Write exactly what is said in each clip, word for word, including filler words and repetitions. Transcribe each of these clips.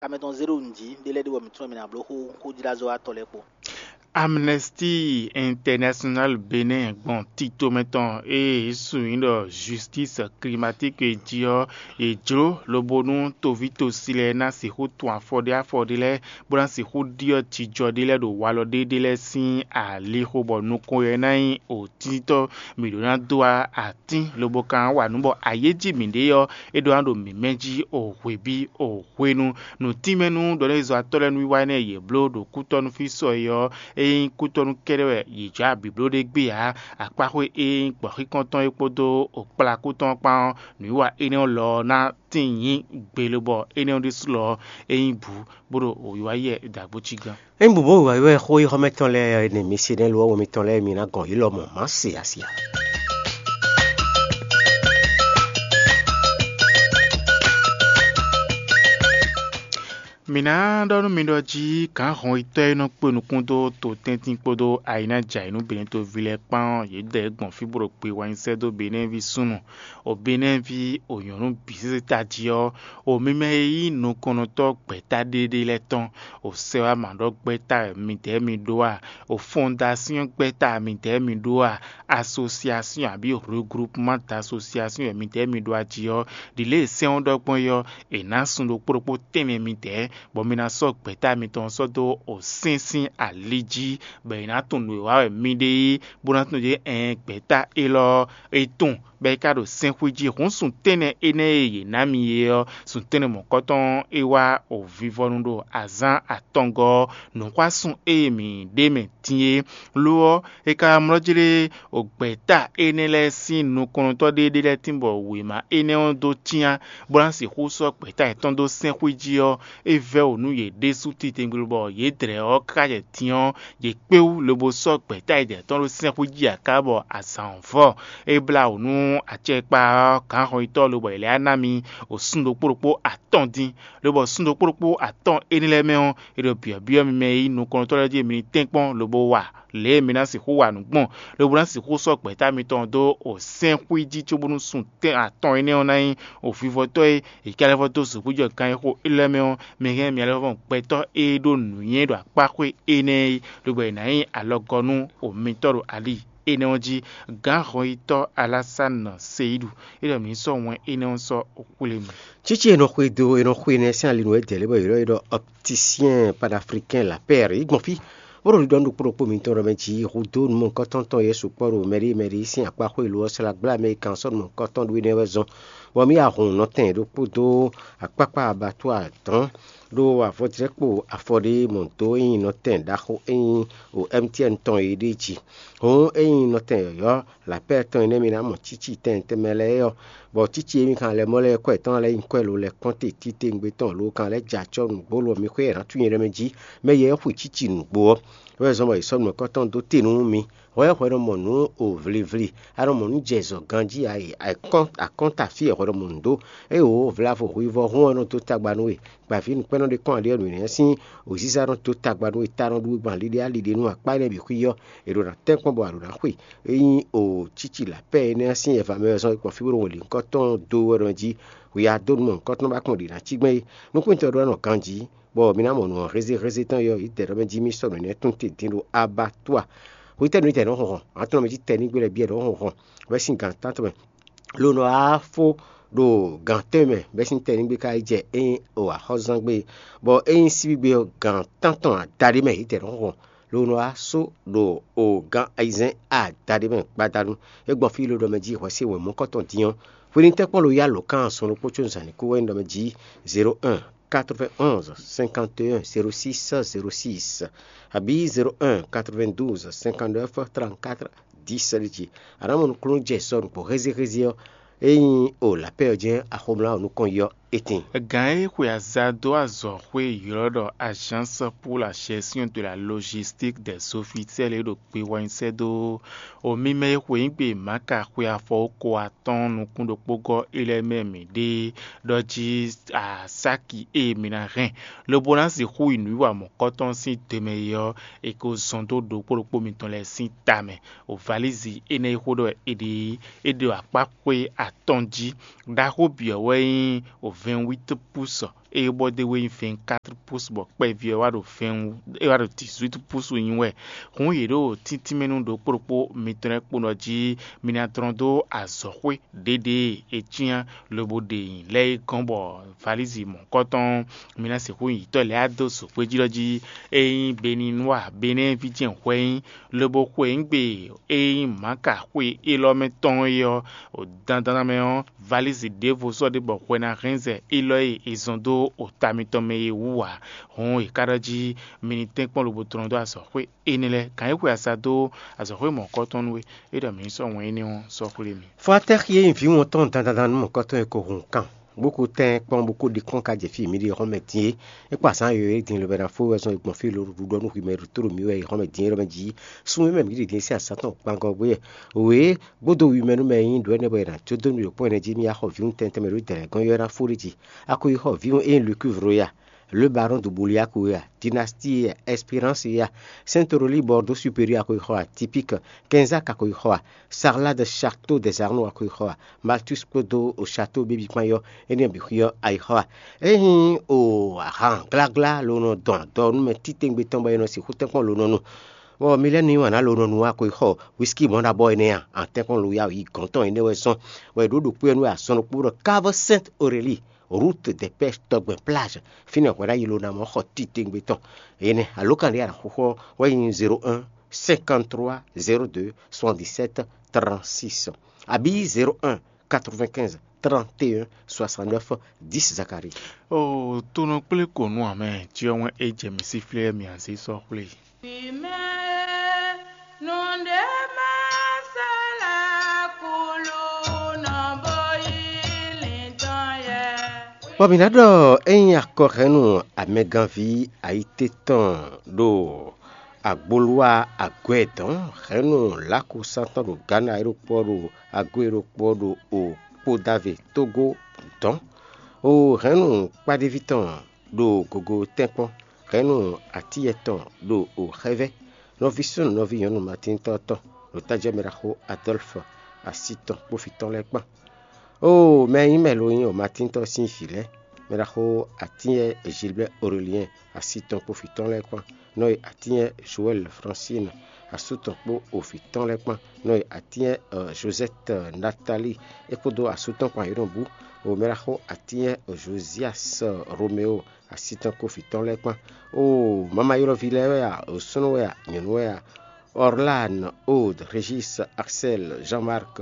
Amɛ tɔn zé ɖo nǔ jí ɖé lɛ́ɛ ɖe bɔ mǐ tunwun mǐ ná bló xó xójíɖazɔ́watɔ́ lɛ́ɛ kpó. Amnesty International Benin gbɔn tito mɛ tɔn e yě sun nyí ɖɔ Justice Climatique jí ɔ́, yě jló lobo nú toví tosi lɛ́ɛ ná sixú tun afɔ ɖé afɔ ɖé lɛ́ɛ, bó ná sixú ɖyɔ́ jijɔ ɖé lɛ́ɛ ɖo walɔ ɖé ɖé lɛ́ɛ sín alixo, bɔ nukɔn ɔ́ ná nyí òtíntɔ́. Mǐ ɖó ná dó atín lobo kan wa nǔ bɔ ayéjí mǐɖée ɔ́, é ɖó ná ɖo mǐmɛ́ jí o hwebí o hwenu. Nǔtínmɛnú ɖɔ nú ezɔ́watɔ́ lɛ́ɛ nú wiwa énɛ́ e yě bló ɖo kútɔ́nú fí sɔ é ɔ́, é nyí kútɔ́nú kɛ́ɖɛ́ wɛ yě jǎ bǐbló ɖé gbé ǎ. Akpáxwé e nyí gbɔ̌xíkɔntɔn é kpódó okplakú tɔn kpán ɔ́, nǔwiwa énɛ́ ɔ́ lɔ ɔ́ ná tíin nyí gbe lobɔ énɛ́ ɔ́ ɖésú lɔ ɔ́, é nyí bǔ, bó ɖo wǐwáyi wɛ dǎgbó cí gán. Ényí bǔbó wǐwáyi wɛ xó yi xɔ́mɛ tɔn lɛ́ɛ ɔ́, énɛ́ mi se nɛ́ lo ɔ́, wɛ mitɔn lɛ́ɛ mi ná gɔn yě lɔmɔ̌ má se asi ǎ. Mǐ ná ɖɔ nú mi ɖɔ jí gǎnhɔnyitɔ́ e nɔ kpé nukún dó totɛ́ntin kpódó ayinájɛ ayǐnúbɛ́nútoví lɛ́ɛ kpán ɔ́, yě dɛ gbɔn fí bó ɖo kpe wá nyi sɛ́ dó Benɛ́ɛví súnnu, o Benɛ́ví, o nyɔ̌nu bǐ sésé tají ɔ́, o mi mɛ e nyí nukɔnnɔtɔ́ gbɛ̌ta ɖéɖé lɛ́ɛ tɔn, o sɛ́ wá mǎ ɖɔ gbɛ́ta wɛ midɛɛ mi ɖó a? O fɔndasyɔ́n gbɛ́ta midɛɛ mi ɖó a? Asosiasyɔ́n abǐ reglupumán d'asosiasyɔ́n wɛ midɛɛ mi ɖó a jí ɔ́, ɖi lě e sɛ́n ɔ́ ɖɔ gbɔn é ɔ́, è nǎ sun ɖokpó ɖokpó tɛ́nnɛ midɛɛ, bɔ mi ná sɔ́ gbɛ̌ta mitɔn sɔ́ dó o sɛ́n sín ali jí, bɔ è nǎ tunwun nǔ e wa wɛ mi ɖe é, bó ná tunwun ɖě ɛɛn gbɛ̌ta élɔ́ ɔ́, é tunwun, bɔ é ka ɖo sɛ́nxwí jí. Hǔn sun tɛ́nnɛ énɛ́ e yě ná mi é ɔ́, sun tɛ́nnɛ mɔ̌kɔtɔn ɔ́, é wá o vivɔnu ɖo azǎn atɔngɔ́ ɔ́, nǔxwásún e mǐ ɖe mɛ din é. Lo ɔ́, è ka wá mlɔ́ jlé o gbɛ̌ta énɛ́ lɛ́ɛ sín nukɔntɔ́ ɖé ɖé lɛ́ɛ tín bɔ wěma énɛ́ ɔ́ dó cyán, bó ná sixú sɔ́ gbɛ̌ta yětɔn dó sɛ́nxwí jí ɔ́, é vɛ́ wǔ nú yě ɖésú titewungbe bɔ yě dlɛ̌ ɔ́ káká jɛ din ɔ́, yě kpé wú lobo sɔ́ gbɛ̌ta yětɔn ɖó sɛ́nxwí jí aká bɔ azǎn ɔ́ vɔ. É blá wǔ nú acɛkpa ɔ́ gǎnhɔnyitɔ́ lobɔ è lɛ́ ná mi o sun ɖokpó ɖokpó atɔn dín, lobɔ sun ɖokpó ɖokpó atɔn énɛ́ lɛ́ɛ mɛ ɔ́, è ɖo byɔ̌byɔ́ mi mɛ e nyí nukɔntɔ́ lɛ́ɛ jí mi ní tɛ́nkpɔ́n lobo wa lě e mi ná sixú wa nǔ gbɔn, lobo ná sixú sɔ́ gbɛ̌ta mitɔn dó o sɛ́nxwí jí cóbónú sun tɛ́n atɔn énɛ́ ɔ́ ná nyí o vivɔtɔ́ e è ka lɛ́ vɔ dó zǒgbíjɔ kan e xo élɔ́ mɛ ɔ́, mi hɛn mi alɔ vɔn gbɛtɔ́ e ɖó nǔnywɛ́ ɖo akpáxwé énɛ́ é, lobo è nǎ nyí alɔgɔ́ nú o mitɔ́ ɖo ali énɛ́ ɔ́ jí. Gǎnhɔnyitɔ́ Alásánɔ Seyíɖu é ɖɔ mǐ ní sɔ́ wɛn énɛ́ ɔ́ sɔ́ xwlé mì. Cící e nɔ xwedó e nɔ xwe nɛ́ sín ali nú édɛ̌ lé bɔ yě ɖɔ é ɖɔ Opticien Panafricain Lapɛ́r yi gbɔn fí, bó ɖo ɖiɖɔ nú ɖokpó ɖokpó mitɔn ɖɔ mɛ jí hudó numɔkɔ́tɔn tɔn Yɛsu kpɔ́ ɖo mɛɖée mɛɖée sín akpá xwé lo ɔ́, slá gbla Amɛlikán sɔ́ numɔkɔ́tɔn ɖó énɛ́ wɛ zɔn, bɔ mì ya hun nɔtɛn ɖokpó dó akpákpá abattoir dɔ̌n ɖó avɔjlɛ́kpo afɔ ɖé mɔ dó ényí nɔtɛn ɖaxó ényí o M T N tɔn e ɖ'é jí. Hǔn ényí nɔtɛn yɔ̌yɔ́ lapɛ́ tɔn e nɛ́ mi ná mɔ cící tɛn tɛnmɛ lɛ́ɛ ɔ́, bɔ cící e mi kan lɛ́ mɔ lɛ́ɛ kɔ́ yětɔn lɛ́ɛ nyí kɔ́ e lo lɛ́ kɔn te titewungbe tɔn lo kan lɛ́ jɛ acɔ́ nǔgbó lo mi xwé ná tunwun nyɛ ɖɔ mɛ jí, mɛ yɛ xwe cící nǔgbó ɔ́. Wɛ zɔn bɔ è sɔ́ nǔkɔntɔn dó te nú mi. Hwɛ hwɛ nɔ mɔ nǔ o vlivli, a nɔ mɔ nǔ jɛ zɔ ganjí a yi akɔ́nta fí e hwɛ nɔ mɔ nǔ dó. Ée wǒ vlavo hwivɔ́ hún ɔ́ nɔ dó tagba nú we, gbavǐ nukpɛ́nɔ ɖé kɔn ali ɔ́ nǔnywɛ́ sín wěziza nɔ dó tagba nú we, ta nɔ ɖu we gbɔn ali ɖé ali ɖé nú akpá énɛ́ bǐ xwí ɔ́, è ɖo ná tɛ́nkpɔ́n bɔ a ɖǒ ná xwe. Ényí o cíci lapɛ́ énɛ́ ɔ́ sín ɛva mɛ wɛ zɔn è kpɔn fí bó ɖo wǒ lǐnkɔ́ tɔn dó wɛ ɖɔ jí, hwi adó nú mɔ nǔkɔntɔn ba kpɔn ɖě ná cí gbɛn é. Nukúntɔ́ ɖó nɔ ganjí, bɔ mi ná mɔ nǔ ɔ́ hézéhézé tɔn yɔ yi dɛ̌ ɖɔ mɛ jí mì sɔ́ nǔ énɛ́ tún te dín ɖo abattoir. Hwetɛ́nu tɛ́ nɔ hɔn hɔn? Atɔ́nɔ mɛ jí tɛnígbe lɛ́ɛ bíɛ nɔ hɔn hɔn bɛ́ sín gan tántɔn mɛ. Lo nɔ wá fó ɖo gan tɛ́nwe mɛ bɛ́ sín tɛnígbe ka yi jɛ ényí o axɔ́zangbe, bɔ ényí síbígbe ɔ́, gan tántɔn adaɖé mɛ yě tɛ́ nɔ hɔn hɔn. Lo nɔ wá só ɖo o gan ayizɛ́n adaɖé mɛ gbadanu. É gbɔn fí lo ɖɔ mɛ jí hwɛ sín wěmɔkɔ́tɔn dín ɔ́, hwenɛ́tɛ́ kpɔ́n lo yá lǒ kan sɔn ɖokpó có zǎn ní kú wɛ nyí ɖɔ mɛ jí zéro un quatre-vingt-onze cinquante et un zéro six zéro six, abǐ zéro un quatre-vingt-douze cinquante-neuf trente-quatre dix jí. A nǎ mɔ nukúnnú jɛ sɔ nukpó hézéhézé ɔ́, ényí o lapɛ́ ɔ́ jɛ́n axɔmlá ɔ́ nukɔn yi ɔ́, é tíin. Gǎn e xwe aza dó azɔ̌xwé e ylɔ́ ɖɔ Agence pour la gestion de la logistique des officiels é ɖo kpe wá nyi sɛ́ dó o mímɛ́ e xwe nyí gbe Maka xwe afɔ ko atɔ́ɔ́n nukún ɖokpó gɔ́ é lɛ́ɛ mɛ mǐ ɖe ɖɔ jí asáki e mi ná hɛn, lobo ná sixú yi nǔwiwa mɔ̌kɔtɔn sín do mɛ é ɔ́, è ko zɔn dó ɖokpó ɖokpó mitɔn lɛ́ɛ sín ta mɛ. O valízi énɛ́ e xó ɖɔ è ɖe é ɖo akpá xwé atɔn jí. Ɖaxó bǐ ɔ́ wɛ nyí o vɛ̌nwít púsɔ é bɔ dé wé nyí vɛ̌nkátrɔ púsu bɔ kpɛví ɔ́ wá ɖo vɛ̌ɛn wú, é wá ɖo dǐzwít púsu nyi wɛ. Hǔn yě ɖo tíntín mɛ nú ɖokpó ɖokpó mitɔn lɛ́ɛ kpo ɖɔ jí mi ná dlɔ́n dó azɔ̌xwé ɖěɖě e cyán lobo ɖe nyi lɛ́ɛ é gɔ́n bɔ valízi mɔ̌hunkɔtɔn mi ná sixú nyi yǐtɔ́ lɛ́ɛ wá dó zǒxwé jí ɖɔ jí é nyí Beninúa, Benɛ́ɛví jɛ́n hwɛ nyí, lobo xwe nǔ gbe e nyí Mǎka xwe élɔ́ mɛ tɔn é ɔ́, ɖo dandan mɛ ɔ́, valízi ɖěvo sɔ́ ɖé bɔ hwɛ ná hɛn zɛ élɔ́ e è zɔn dó ota mitɔn mɛ é wú ǎ. Hǔn è ka ɖɔ jí mi ní tɛ́nkpɔ́n lobo tlɔ́n dó azɔ̌xwé énɛ́ lɛ́ɛ, gǎn e xwe asa dó azɔ̌xwé mɔ̌hunkɔtɔn nú we, é ɖɔ mǐ ní sɔ́ wɛn énɛ́ ɔ́ sɔ́ xwlé mì. Fɔ́tɛ́ xi e nyí vǐ wɔn tɔn dandandan nú mɔ̌kɔtɔn e ko hun kan, bó ko tɛ́n kpɔ́n bó ko ɖi kpɔ́n ka jɛ fí e mǐ ɖe xɔ́mɛ din é. É kpa zǎn yɔ̌yɔ́ e din lobɛ ná fó wɛ zɔn e gbɔn fí lǒ ɖuɖɔ nú hwi mɛ ɖo tó ɖo mǐ wɛ yi xɔ́mɛ din é ɖɔ mɛ jí. Sun e mɛ mǐ ɖe din sín azǎn tɔn kpangɔn gbé wɛ. Wě gbódó wi mɛ nú mɛ e nyí ɖǒ énɛ́ bɔ è nǎ jó dó nú ɖo kpɔ́n ɛnɛ jí mì axɔ vǐwun tɛntɛn mɛ ɖó dɛ̌nɛgɔ́n yɔ́ ná fó ɖé jí. A ko yi xɔ vǐwun e nyí Lucuve ya, Le Baron de Bouliac ya, Dynastie ya, Espérance ya, Saint Aurélie Bordeaux Supérieur a ko yi xɔ a, Typique, Kenza ka ko yi xɔ a, Sarlat de Château des Arnaud a ko yi xɔ a, Malthus kpódó o Château Baby kpán yɔ, énɛ́ bǐ xwí ɔ́ a yi xɔ a. Ényí o ahan gláglá lo nɔ dɔn adɔ nú mɛ títewungbe tɔn bɔ è nɔ sixú tɛ́nkpɔ́n lo nɔ nu, bɔ mi lɛ́ nu yí wǎn ná lo nɔ nu a ko yi xɔ whisky mɔ̌ ɖabɔ énɛ́ a, an tɛ́nkpɔ́n lo ya yi gɔ̌n tɔn énɛ́ wɛ zɔ́n, bɔ è ɖǒ ɖo kpé ɔ́ nú wɛ azɔn ɖokpó ɖɔ Cave Sainte Aurélie, route des Pêches tɔgbɛn plage, fínɛ́ hwɛ ná yi lo ná mɔ xɔ titewungbe tɔn. Énɛ́ alǒkan ɖé a nǎ xóxó ɔ́ wɛ nyí zéro un cinquante trois zéro deux soixante dix sept trente six, abǐ zéro un quatre vingt quinze trente et un soixante neuf dix Zacharie. O tonɔ kplé ko nú amɛ, cyɔ wɛn é jɛ mǐ sí flé mǐ azé sɔ́ xwlé. Vǐ mɛ, nǔɖé má sɔ́ lɛ́ kúlú nɔ bó yí lǐndɔn yɛ. Bɔ mǐ ná ɖɔ ényí akɔhɛ́nnu amɛganví ayíté tɔn ɖo agboluwa agwɛ dɔn hɛ̌nnu lǎkúsán tɔn ɖo Gana e ɖokpó ɔ́ ɖo ago e ɖokpó ɔ́ ɖo o kpodave Tógó dɔn, o hɛ̌nnu kpáɖéví tɔn ɖo gogo tɛ́nkpɔ́n, hɛ̌nnu atíyɛ tɔn ɖo o xɛ́vɛ́, nɔví súnnu nɔví nyɔ̌nu Matíntɔ́ tɔn ɖo tájɛ́ mɛ ɖaxó Adɔ́lfu asi tɔn kpó vǐ tɔn lɛ́ɛ kpán. Oo, mɛ e nyí mɛ lo nyí o Matíntɔ́ sín vǐ lɛ́ɛ, mɛ ɖaxó atínyɛ Gilbert Aurélien asi tɔn kpó vǐ tɔn lɛ́ɛ kpán, nɔ e atínyɛ Joël Francine asú tɔn kpó o vǐ tɔn lɛ́ɛ kpán, nɔ e atínyɛ Josette Nathalie é kpódó asú tɔn kpán yě nɔ bú, o mɛ ɖaxó atínyɛ Josias Roméo asi tɔn kpó vǐ tɔn lɛ́ɛ kpán. Oo, mama ylɔ́ví lɛ́ɛ wɛ a, o súnnu wɛ a, nyɔ̌nu wɛ a, Orlan, Aude, Régis, Axel, Jean-Marc,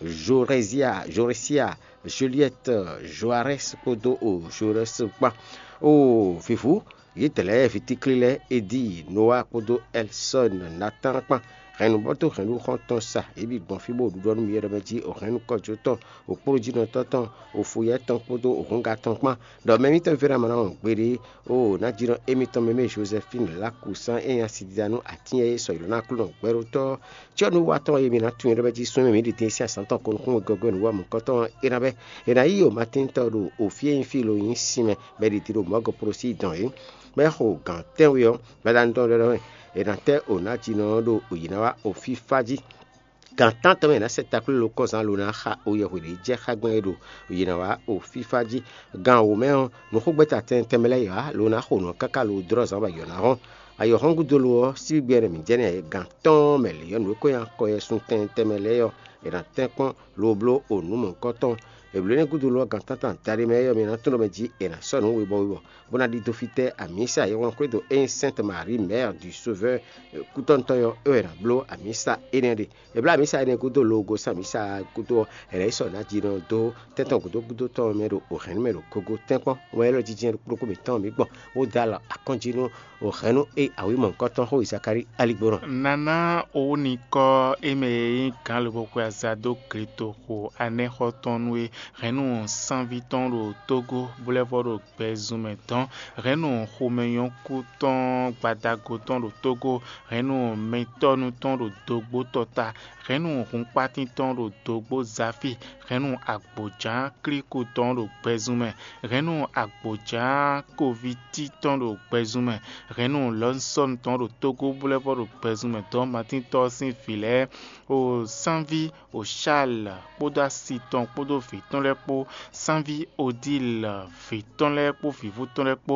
Jorésia, Jorésia, Juliette, Joarès kpódó o Joarès kpán. Oo, vǐvú, yědɛɛ lɛ́ɛ vitíklí lɛ́ɛ, Edi, Noa kpódó Ɛlsɔ́n, Natán kpán. Hɛ̌nnu bɔ dó hɛ̌nnu xɔ́ntɔn sa, yě bǐ gbɔn fí bó ɖuɖɔ nú mì ɖɔ mɛ jí o hɛ̌nnu kɔjó tɔn, o kplɔ́njínɔtɔ́ tɔn, o fuyɛ́ tɔn kpódó o hɔ́nga tɔn kpán. Ɖɔ mɛ mitɔn Fɛ́namanu gbeɖé, oo, ná jínɔ émítɔn mɛ mɛ Jozɛfín Lakusán e nyí asidida nú atín e sɔ yǒ ná Aklúnɔ gbɛɖótɔ́ ɔ́, cyɔ́núwatɔ́ e mi ná tunwun ɖɔ bɛ́ jí súnnu e mǐ ɖi din sín azǎn tɔn kɔn nukún wegɔ́gɔ́ nǔ wa mɔ̌kɔtɔn ɔ́, é ná bɛ́. È nǎ yí o Matín tɔn ɖo o fí e nyí fí lo nyí sinmɛ, bɔ è ɖi din ɖo mɔ̌ gɔ́ prosí dɔn é, bɔ é xo gǎn tɛ́nwe ɔ́, gbadanu tɔn ɖɔɖɔ́ mɛ, è nǎ tɛ́ o nǎjínɔ ɔ́ ɖo yǐ ná wá o fífá jí. Gan tántɔn mɛ è nǎ sɛ takló lo kɔ́zán lo ná xa oyɛhwe ɖě jɛ xá gbɛn e ɖo yě ná wá o fífá jí. Gan wǒ mɛ ɔ́, nǔxogbɛ́ta tɛnmɛ tɛnmɛ lɛ́ɛ yě wá lo ná xo nǔ ɔ́ káká lo dlɔ́ zǎn bɔ ayɔ̌ ná hɔ́n. Ayɔ̌hɔ́ngúdo lo ɔ́, síbígbí ɛnɛ mǐ jɛ nɛ́ gan tɔn mɛ lě ɔ́, nǔ e ko nyí akɔyɛsun tɛnmɛ tɛnmɛ lɛ́ɛ ɔ́, è nǎ tɛ́nkpɔ́n lo bló o nǔ mɔ̌hunkɔtɔn. È blǒ énɛ́ gúdo lo ɔ́, gan tántɔn adaɖé mɛ é ɔ́, mi ná tunwun ɖɔ mɛ jí è nǎ sɔ́ nǔ webɔ webɔ, bó ná ɖidó fítɛ́ amǐsa e wlán xwé dó ényí Sainte Marie Mère du Sauveur kútɔ́nutɔn ɔ́, é wɛ è nǎ bló amǐsa énɛ́ ɖe. È bló amǐsa énɛ́ gúdo lo gosín amǐsa gúdo ɔ́, è nǎ yi sɔ́ nǎjínɔ dó tɛ́ntɔn gǔdo gúdo tɔn mɛ ɖo hɛ̌nnu mɛ ɖo gogo tɛ́nkpɔ́n. Wɛn élɔ́ jínjɛ́n ɖokpó ɖokpó mǐtɔn mǐ gbɔn, bó dó alɔ akɔ́njí nú hɛ̌nnu e awǐmɔ̌hunkɔtɔn xó Zakalíi aligbónɔ. Nana owúnikɔ e mɛ e nyí gǎn lobo xwe aza dó gletoxo anɛ́xɔ tɔn nú é. Hɛ̌nnu sánví tɔn ɖo Tógó, bó lɛ́ vɔ ɖo gbɛzunmɛ dɔn. Hɛ̌nnu xomɛnyɔ́kú tɔn gbadago tɔn ɖo Tógó. Hɛ̌nnu mɛtɔ́nu tɔn ɖo dogbó tɔta. Hɛ̌nnu hunkpátín tɔn ɖo dogbó zafi. Hɛ̌nnu agbǒján klíku tɔn ɖo gbɛzunmɛ. Hɛ̌nnu agbǒján kovítí tɔn ɖo gbɛzunmɛ. Hɛ̌nnu lɔ̌nsɔ́nu tɔn ɖo Tógó, bó lɛ́ vɔ ɖo gbɛzunmɛ dɔn Matín tɔn sín vǐ lɛ́ɛ, o sánví, o Sháal kpódó asi tɔn kpódó vǐ tɔn tɔn lɛ́ɛ kpó, sánví Odile vǐ tɔn lɛ́ɛ kpó vǐvú tɔn lɛ́ɛ kpó,